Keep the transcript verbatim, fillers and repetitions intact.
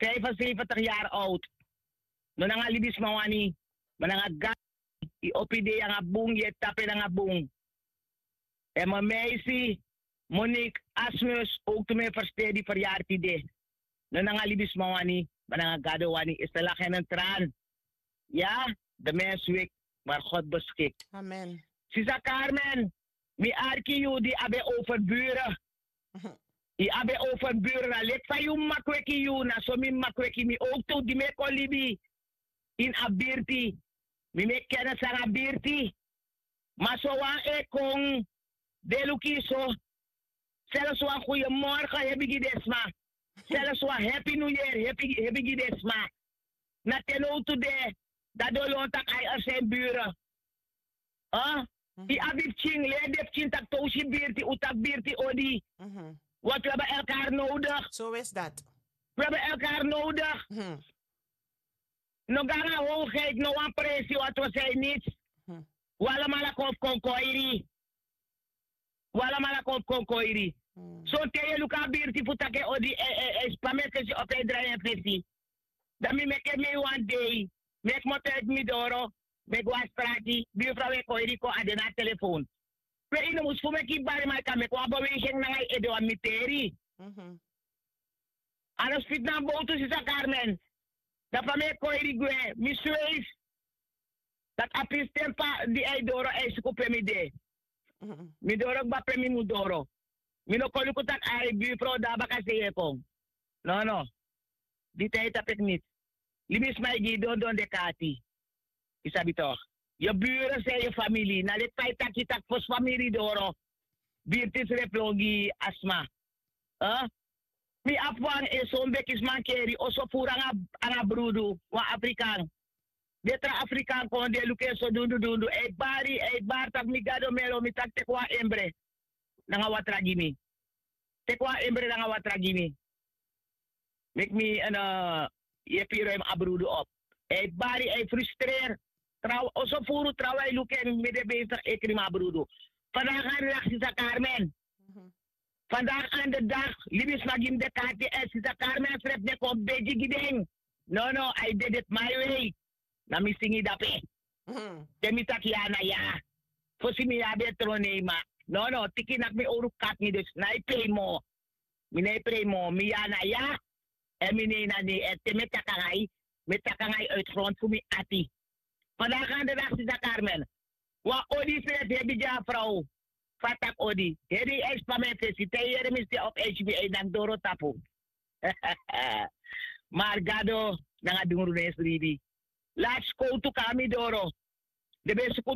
Vijfenzeventig yari oud. No nanga libisma wani, ma nanga gado. Yu opo yu dei nanga bun, yu e tapu en nanga bun. Èn mi meisi Monique Asmus, owktu mi e fersteri di feryari tide. No nanga libisma wani, ma nanga gado wani. Isi lagi en en tran. Ya, de mensi weki, mar god beskik. Sisa Carmen, mi arki yu di abi en over bure. Yu abi en over bure, na leki fa yu maki weki yu na so mi maki weki mi owktu di mi e kon libi. Ini a birti, mi meki kenisi nanga birti. Ma so wan e kon de luku yu so. Selfs wan guyemorgen hebi gi den sma. Selfs wan happy new year hebi gi den sma. Na te nowtu de, dati don lon tak' a yu e seni bure. Yu abi pikin, leri den pikin tak' te un si birti un taki birti odi. Want we hebben elkaar nodig. We hebben elkaar nodig. No go nanga hoogheid, no wan presi want we zijn niets. We alamala kon fu kon koiri. We alamala kon fu kon koiri. Sonten yu e luku a birti fu taki en odi, en span mi en fesi opo en drai en fesi. Dan mi meki en mei wan dei, meki moto eti mi doro, meki wan strati, birfra we koiri kon a de na a telefon. We yu no mus fu meki yu bari ma yu kan meki wan beweging nanga yu ede wan miteri. A no spiti na bowtu sisa Carmen. Dan fa mi e koiri gwe mi sweifi. Dati a pisten pa di a e doro a e suku pe mi de. Mi doro kba pe mi mu doro. Mi no kon luku tak' a e birfrow de na baka sei e kon. Nono. Di ten e tapu e kniti. Libisma e gi yu dondon de kati. Yu sabi tok'? Yu bure san yu famili na leki fa yu taki yu taki fosi famili doro. Birti srefi lon gi a sma. Mi abi wan e son bekisma keri oso furu nanga brudu, wan afrikan. Den tra afrikan kon den luku en so dundudundu a e bari a e bari tak' mi gado melo mi taki teki wan embre. Nanga watra gi mi. Teki wan embre nanga watra gi mi. Meki mi en yepi yu ron en mi abrudu op. A e bari a e frustreri. Oso furu trawan e luku en mi de besi tak' ekri mi abrudu. Fandagi an de dagi sisa karmen. Fandagi an de dagi libisma gi mi de kati èn sisa karmen srefi de kon begi gi den. Nono a e dede fu mai wei. Na mi singi dape. Te mi taki ya na ya. Fosi mi ya ben tron nei ma. Nono tiki naki mi owru kati mi dus na e pei mo. Mi na e prei mo mi ya na ya. Èn mi nei na nei èn te mi e taki nanga yu mi e taki nanga yu uitu grontu fu mi ati. Fandagi an de dagi sisa karmen. Wan odi srefi hebi gi a frow. Fa a taki odi heri yu e span mi en fesi te yu yere mi si a opo hbi e danki doro tapu. Mari gado nanga dungru no e sribi. Lati skowtu kon na mi doro. Den ben suku